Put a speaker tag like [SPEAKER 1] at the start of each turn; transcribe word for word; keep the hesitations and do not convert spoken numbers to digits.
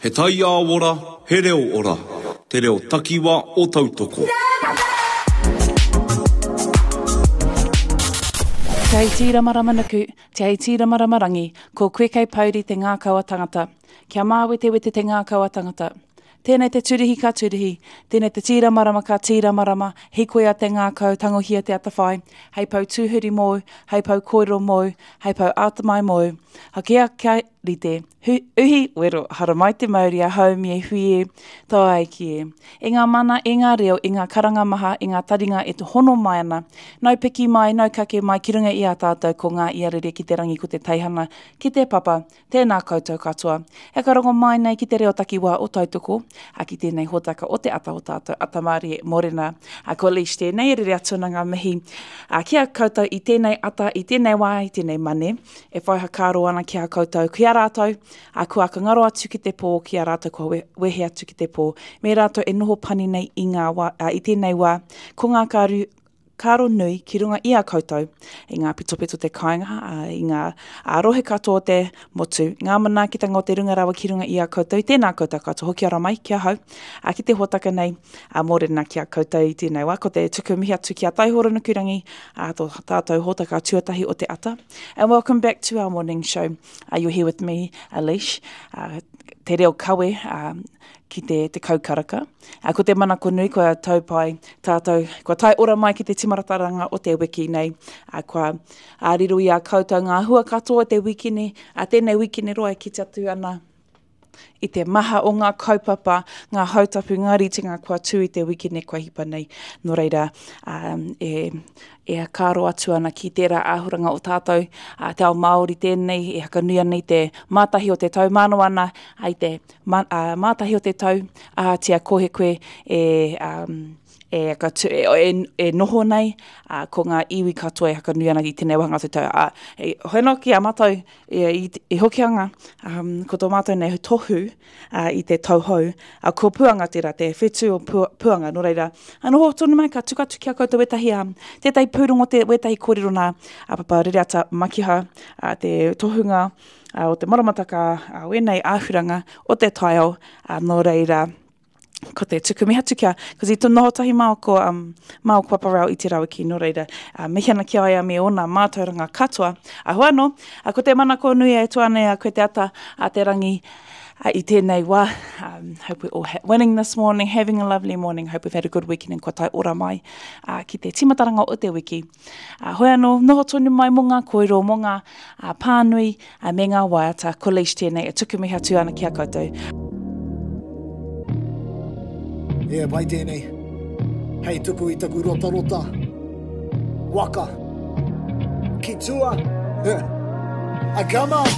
[SPEAKER 1] He taiao ora, he reo ora. Te reo takiwa o Tautoko.
[SPEAKER 2] Te hei tīramarama nuku, te hei tīramarama rangi, ko koe kei pouri te ngākau a tangata. Kia māwetewete te ngākau a tangata. Tēnei te turihi ka turihi, tēnei te tīramarama ka tīramarama, hikoia te ngākau, tangohia te atawhai, hei pou tūhuri mōu, hei pou kōrero mōu, hei pou atamai mōu. Hakea kia rite, hu, uhi, wero, haramai te mauri a haumi e hui e, tae ki e. E ngā mana, e ngā reo, e ngā karanga maha, e ngā taringa e te hono mai ana. Nau piki mai, nau kake mai ki runga i a tātou ko ngā iarere ki te rangi ko te teihana, ki te papa, tēnā koutou katoa. E ka rongo mai nei ki te reo takiwā o Tautoko, a ki tēnei hōtaka o te ata o tātou, Atamārie Morena. A ko Leish tēnei, e rere atu ana ngā mihi a, ki a koutou i tēnei ata, i tēnei wā, i tēnei mane, e whai hakaaro ana ki a koutou, ki a rātou, a kua ka ngaro atu ki te pō, ki a rātou kua wehe atu ki te pō, me rātou e noho pani nei i, ngā wā, a, i tēnei wā, ko ngā kāru, kāro nui ki runga i a koutou, i ngā pitopito te kāinga, a, i ngā a, rohe katoa o te motu, ngā manaakitanga o te runga rawa ki runga i a koutou, tēnā koutou katoa, hoki ara mai ki ahau, a, ki te hōtaka nei, a, mōrena ki a koutou i tēnei wā, ko te tuku mihi atu ki a Taihoro Nukurangi, a, tō tātou hōtaka tuatahi o te ata. And welcome back to our morning show. Uh, you're here with me, Alish, uh, te reo kawe, uh, ki te, te kaukaraka. Uh, ko te manako nui, kua taupai tātou, kua tae ora mai ki te timarataranga o te wiki nei, uh, kua uh, riro i a koutou ngā hua katoa o te wikine, uh, tēnei wikine roa e kite atu ana i te maha o ngā kaupapa, ngā hautapu, ngā ritenga kua tū i te wikine kua hipa nei. Nō reira, um, e, e kāro atu ana ki tērā āhuranga o tātou, a, te ao Māori tēnei, e hakanui ana i te mātahi o te tau, māno ana ai te ma, a, mātahi o te tau, a tia kohe koe e, um, e, e, e, e noho nei, a, ko ngā iwi katoa e hakanui ana i tēnei wāhanga o te tau. A, e, hoeno ki a mātou e, i, i Hokianga, um, ko tō mātou nei tohu uh, i te tau hou, a, ko Puanga tērā, te whetū o pu, Puanga, nō reira, a noho tonu mai, ka tuku atu ki a koutou wētahi, um, tētahi pūrongo, te, wētahi kōrero nā, a Papa Rereata Makiha, a, te tohunga a, o te maramataka, a, wēnei āhuranga o te taiao, a, nō reira, ko te tuku mihi atu kia, cause i tō noho tahi māo ko, um, māo ko Paparau i te rawiki, nō reira, uh, mihi ana ki a ia me ōna mātauranga katoa. A hoa anō, a ko te manako nui e tua nei a koe te ata a te rangi uh, i tēnei wā. Um, hope we're all winning this morning, having a lovely morning. Hope we've had a good weekend and kua tae ora mai uh, ki te timataranga o te wiki. Uh, hoi anō, noho tonu mai mō ngā kōrero, mō ngā uh, pānui uh, me ngā waiata. Ko Leish tēnei e tuku mihi atu ana ki a koutou.
[SPEAKER 3] E pai tēnei. Hei tuku i taku rotarota. Waka. Ki tua. A come on.